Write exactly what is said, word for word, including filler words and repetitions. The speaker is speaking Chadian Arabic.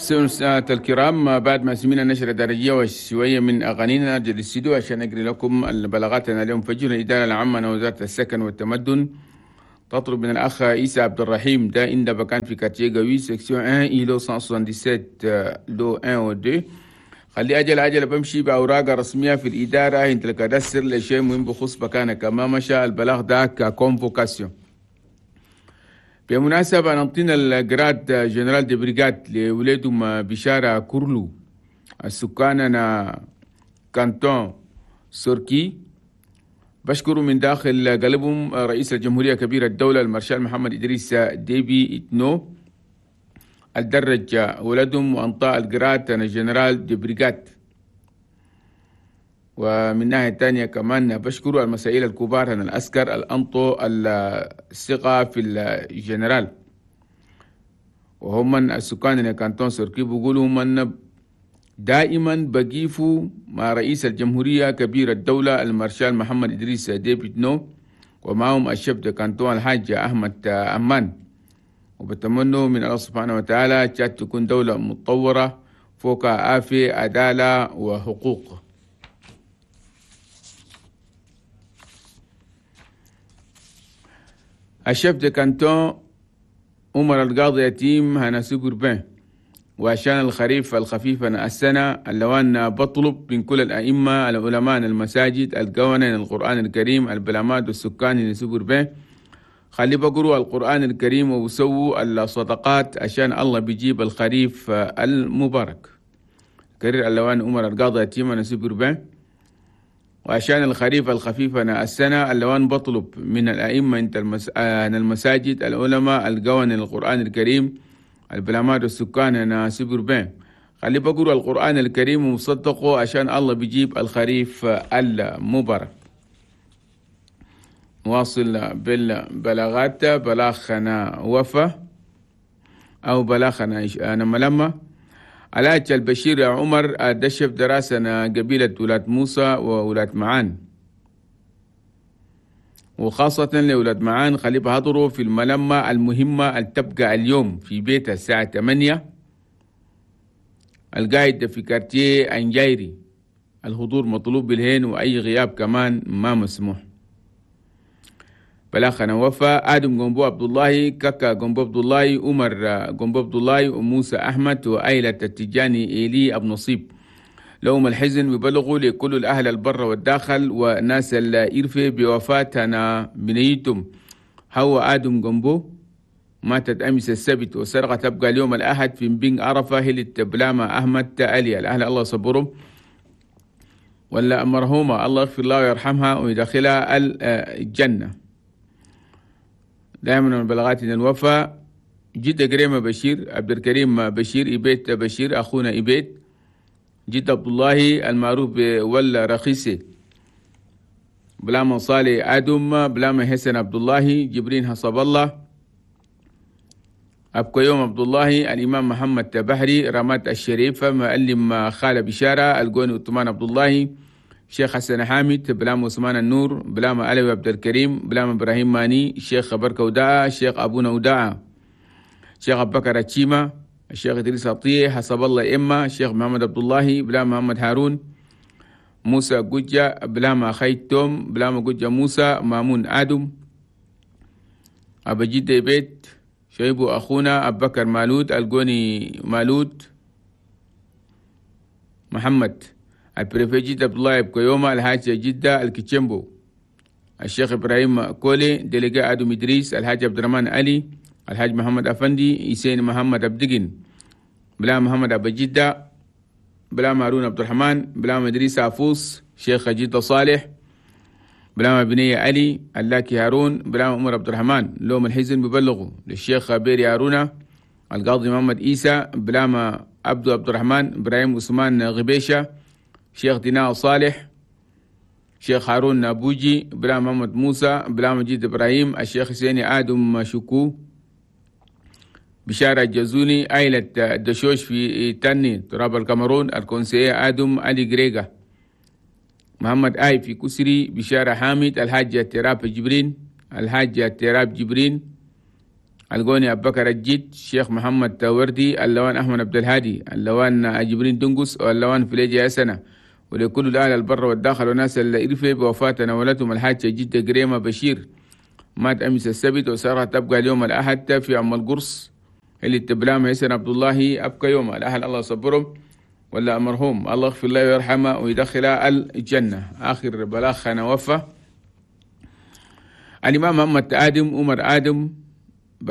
سمعت الكرام، بعد ما سمعنا نشرة درجية وشوية من أغانينا نرجع للاستديو عشان أقري لكم البلاغات اليوم فجر. الإدارة العامة لوزارة السكن والتمدن تطلب من الأخ عيسى عبد الرحيم ده إن بكان في quartier Gaoui section واحد îlot مية سبعة وسبعين lot واحد و اتنين، خلي أجل عجل بمشي بأوراق رسمية في الإدارة انت ال cadastre لشيء مهم بخص بكانك، ما مشى البلاغ ده ك convocation. بمناسبة نعطينا ال grade général de brigade لولادهم بشارة كورلو السكان أنا canton سوركي، بشكر من داخل قلبهم رئيس الجمهورية كبير الدولة المارشال محمد إدريس ديبي إتنو الدرج ولدهم وأنطاء ال grade أنا général de brigade. ومن ناحية تانية كمان بشكر المسائل الكبار أن الأسكر الأنطو الثقة في الجنرال، وهم من السكان اللي canton سوركي بيقولوا من دائما بقيفوا مع رئيس الجمهورية كبير الدولة المارشال محمد إدريس ديبي إتنو ومعهم ال chef de canton الحاج أحمد أمان، وبتمنوا من الله سبحانه وتعالى تشاد تكون دولة متطورة فوق عافية عدالة وحقوق. ال chef de canton عمر القاضي يتيم هنا suburbain، وعشان الخريف الخفيف السنة اللوان بطلب من كل الأئمة العلماء المساجد القوانين القرآن الكريم البلامات والسكان suburbain خلي بقروا القرآن الكريم وسووا الصدقات عشان الله بيجيب الخريف المبارك. كرير اللوان عمر القاضي يتيم أنا suburbain، وعشان الخريف الخفيف أنا السنة اللوان بطلب من الأئمة انت المس... المساجد العلماء القوانين القرآن الكريم البلامات والسكان أنا suburbain خلي بقروا القرآن الكريم وصدقوا عشان الله بيجيب الخريف المبارك. نواصل بالبلاغات. بلاغنا وفا أو بلاغنا أنا ملمة علاج البشير عمر دشف دراسنا قبيلة ولاد موسى وولاد معان، وخاصة لولاد معان خلي بحضروا في الملمة المهمة اللي تبقى اليوم في بيت الساعة ثمانية القايد في quartier أنجايري. الحضور مطلوب بالهين وأي غياب كمان ما مسموح. بلاخنا وفا آدم جنبو عبد الله كاكا جنبو عبد الله عمر جنبو عبد الله وموسى أحمد وأيلة التجاني إيلي أبو نصيب لهم الحزن ببلغوا لكل الأهل البر والداخل وناس الإرفة بوفاة أنا بنيتم هو آدم جنبو ماتت أمس السبت وسرقة تبقى اليوم الأحد في بين عرفة هلت بلامة أحمد ألي الأهل الله صبرهم ولا مرحومة الله يغفر الله ويرحمها ويدخلها الجنة. دائما من بلغاتنا الوفاء جدة كريمة بشير عبد الكريم بشير إبيت بشير أخونا إبيت جد عبد الله المعروف بولا رخيصي بلاما صالح آدم بلاما حسن عبد الله جبرين حسب الله أبقى يوم عبد الله الإمام محمد بحري رمات الشريفة معلم خالة بشارة القوني عثمان عبد الله شيخ حسن حامد بلام عثمان النور بلام علوي عبد الكريم بلام إبراهيم ماني شيخ بركة وداعة شيخ أبونا وداعة شيخ أبو بكر التشيمة الشيخ إدريس عطية حسب الله إما الشيخ محمد عبد الله بلام محمد هارون موسى جوجة بلام خيتم بلام جوجة موسى مامون آدم أبا جدة بيت شيبو أخونا أبو بكر مالود القوني مالود محمد ال préfet جدة عبد الله بكيوما الحاج جدة الكتشمبو الشيخ إبراهيم كولي délégué آدم إدريس الحاج عبد الرحمن علي الحاج محمد أفندي إسين محمد أبدقن بلا محمد أبو جدة بلا مارون عبد الرحمن بلا إدريس عفوس شيخ جدة صالح بلا بنية علي اللاكي هارون بلا عمر عبد الرحمن لوم الحزن ببلغوا للشيخ بيري هارونا القاضي محمد إيسى بلا عبد عبد الرحمن إبراهيم عثمان غبيشة شيخ ديناء صالح شيخ هارون نابوجي بلا محمد موسى بلا مجيد إبراهيم الشيخ حسيني آدم شكو بشارة الجزوني عائلة دشوش في تاني تراب الكاميرون ال conseiller آدم علي جريجا محمد آي في كسري بشارة حامد الحاج تراب جبرين الحاج تراب جبرين القوني أبو بكر الجيد، شيخ محمد تاوردي، اللوان أحمد عبد الهادي، اللوان جبرين دنقس، واللوان فليجي سنة، ولكل الأهل البر والداخل وناس اللي إرفي بوفاة نولتهم الحاجة جدة قريمة بشير، مات أمس السبت وسارة تبقى اليوم الأحد في أم القرص اللي تبلام يسن عبد الله أبقى يوم الأهل الله صبرهم ولا مرحوم الله يغفر له ويرحمه ويدخله الجنة. آخر بلاغ أنا وفى الإمام محمد آدم عمر آدم